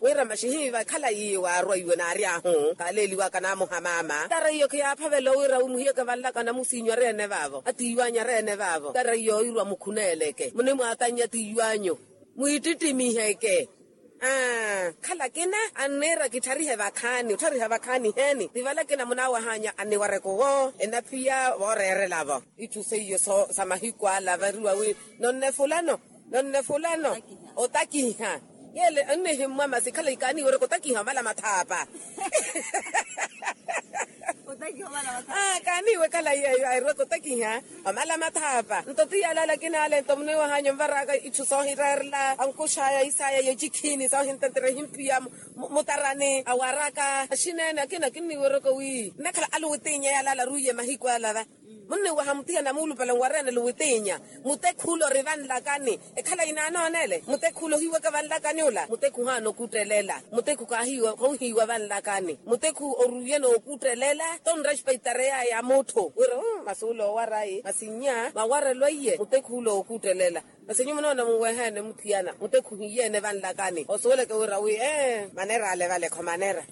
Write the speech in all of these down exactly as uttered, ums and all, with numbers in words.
Wira maxihiiva ekhala yiiye waarwa iwe naari ahu kaaleeliwaka naamuha maama tara iyo khiyaaphavela owira wimuhiyeke vanlaka namusiinyu ari ene vaavo atiiwanyu ari ene vaavo tara iyo owirwa mukhuneeleke munimwaatannya tiiwanyu mwiittittimiiheke. Aa khala kina anniira kittharihe vakhaani otthariha vakhaani heeni ti vala kina munaawahanya anniwareke owo enaphiya vooreerela-vo itthu seiyo sa mahiku ala variwa wi nonne fulano nonne fulano otakiha yeele annihimmwa masi khala ikaaniiwereke otakiha omala mathaapa kaaniiwe khala yeeyo airweke otakiha omala mathaapa nto ti yalala kinaale nto muniwahanya onvaraka itthu soohireerela ankuxaya isaya yecikhiini soohintentere ehimpiya mutarani awaraka axineene akina kinniiwereke wi nnakhala aluwitiinya yalala aruiye mahiku alava munniwaha muthiya namuulupale nwareenele witiinya mutekhu ula ori vanlakani ekhala inaanoonele mutekhu ula ohiwaka vanlakani ula mutekhu ohaana okuuttelela mutekhu khaahiiwa khouhiiwa vanlakani mutekhu oruiye nookuuttelela tonrespeitareyaya mutthu wira masi ula owarayi masi nnya mawarelo iye mutekhu ula ookuuttelela masi nyuwo munoona munweheene muthiyana mutekhu ohiyeene vanlakani osuweleke wira wi ee manera ale vale kho manera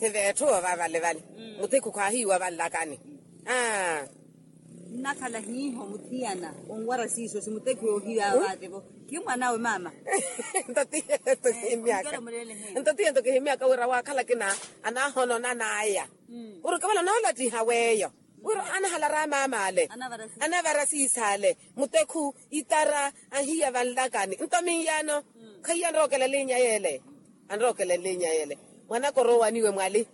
thiveetthu ova vale vale mutekhu khaahiiwa vanlakani aa nnakhala hiiho muthiyana onwara siiso simutekhu yoohiya vaate-vo khimwanawe maama nto tiyeeyo nto kihimyaka wira waakhala kina anaahononanaya wira okavala onoolattiha weeyo wira anahalara maama ale anavara siisa ale mutekhu itara ahiya vanlakani nto minyaano khaiye anrookela elinya yeele anrookela elinya yeele mwanaka oroowaniwe mwali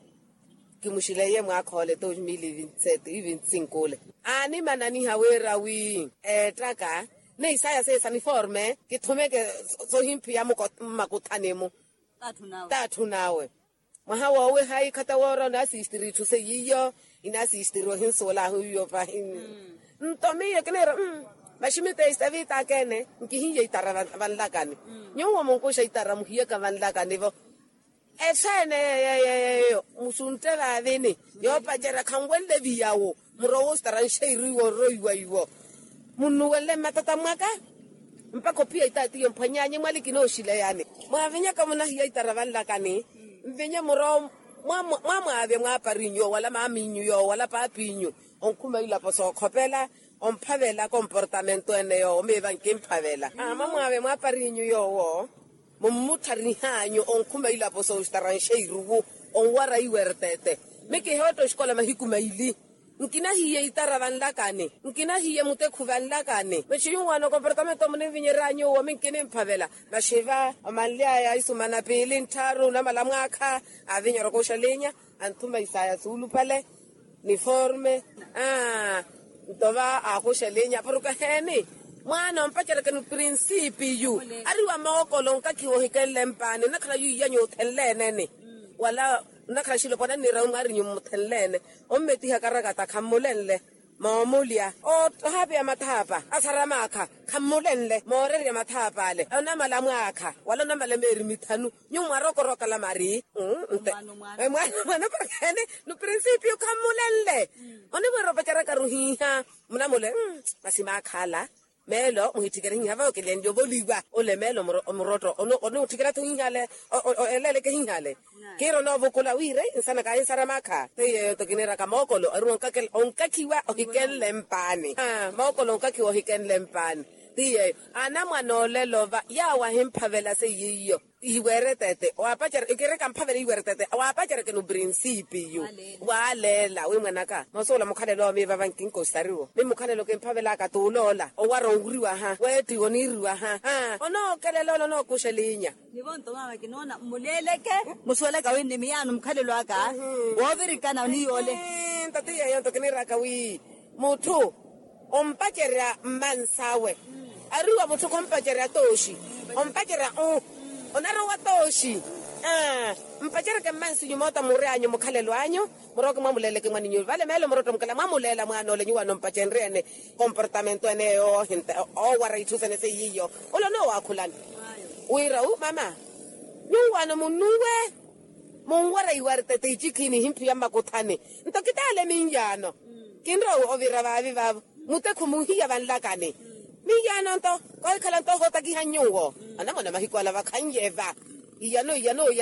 kimuxileiye mwaakhoole dois mil e vinte e sete e vinte e cinco ole aanimananiha wira wi eettaka ni isaya seesa niforme kithumeke sohimphiya mmakuthani-mu t'atthu nawe mwaha wooweha ikhata woora onaasistiri itthu seiyiyo inaasistiri ohinsuwela ahu iyo pahi nto miyo kiniira maxi miteistavi itaka ene nkihiye itara vanlakani nyuwo munkuxa itara muhiyaka vanlakani-vo esaene yeyo musuntte vaavini yoopacerya khanwenle viyawo murowa ositara nxeiru iwo orroiwa iwo munnuwenle mmatata mwaka mpakha ophiya itaatiyo mphwanyaanyi mwali kinooxileyani mwaavinyaka munahiya itara vanlakani mvinye murowa mwamwaavya mwaaparinyu yoowo wala maaminyu yoowo wala paapinyu onkhuma ilapo sookhopela omphavela komportamento ene yoowo miiva nkimphavela mwamwaavya mwaaparinyu yoowo mummuttharih'anyu onkhuma ilapo sooxitaranxa iruvu onwara iwertete mikihootto oxikola mahiku maili nkinahiye itara vanlakani nkinahiye mutekhu vanlakani maxi nyuwaano komportamento muninvinyerya nyuwo minkinimphavela maxi va omanly'aya isumana piili nttharu namala mwaakha avinyerya okuxa linya anthuma isaya suulupale niforme aa nto va aakuxela inya porke heeni mwaana ompacerekeni oprinsipiyu ari wa mookolo onkakhiwa ohikenle mpaani nnakhala yu iyanyu othenle-ene-ni wala nnakhala xilopwana nniirawi mwaarinyu mmuthenle-ene ommettiha karakata khammulenle moomulya ohaapeya mathaapa asara maakha khammulenle moorerya mathaapa ale onamala mwaakha wala onamala meeri mithanu nyuwo mwarokorokala mari mwaana mwaana porkene nuprinsipiyu khammulenle onimwiira opacerakaru hiiha munamule masi maakhala meelo muhitthikere hiiha vawe kilenlya ovoliwa ole meelo omurotto onutthikerya-tho hiiha ale eleeleke hiiha ale kiira onoovukula wiire nsana kaahinsara maakha seiyeyo nto kiniiraka mookolo ari onkakhiwa ohikenle mpaani mookolo onkakhiwa ohikenle mpaani ti yeeyo anamwane olelo va yaawo ahimphavela seiyiiyo ihiweere tete waapacerya ikirika mphavela ihiweere tete waapaceryakeni oprinsipiyu waaleela wi mwanaka noosuwela mukhalelo owo miivava nkinkositariwo mi mukhalelo kimphavelaka t'uloola owara onriwaha weettiwa oniiriwaha onookelela ole onookuxa elinya nivo nto maama kinoona mmuleeleke musuwelaka wi nni miyaano mukhalelo aka woovirikana oniyoole nto ti yeeyo nto kiniiraka wi mutthu ompacerya mmans'awe ari wa mutthu khompacerya tooxi ompacerya u onarowa tooxi mpaceryeke mmansinyu moota muryanyu mukhalelo anyu murooke mwamuleeleke mwaninyu vale meelo murotto mukhala mwamuleela mwaana ole nyuwaano mpacenrye-ene komportamento ene oowara itthu sene seiyiiyo ole onoowakhulani wira u mama nyuwaano munnuwe munwara iwartete icikhiini ihimphiya mmakuthani nto kitaale minyaano kinrowa ovira vaavi vaavo mutekhu muhiya vanlakani minyaano nto koohikhala nto ohootakiha nyuwo anamwane mahiku ala vakhannyeva iyano iyano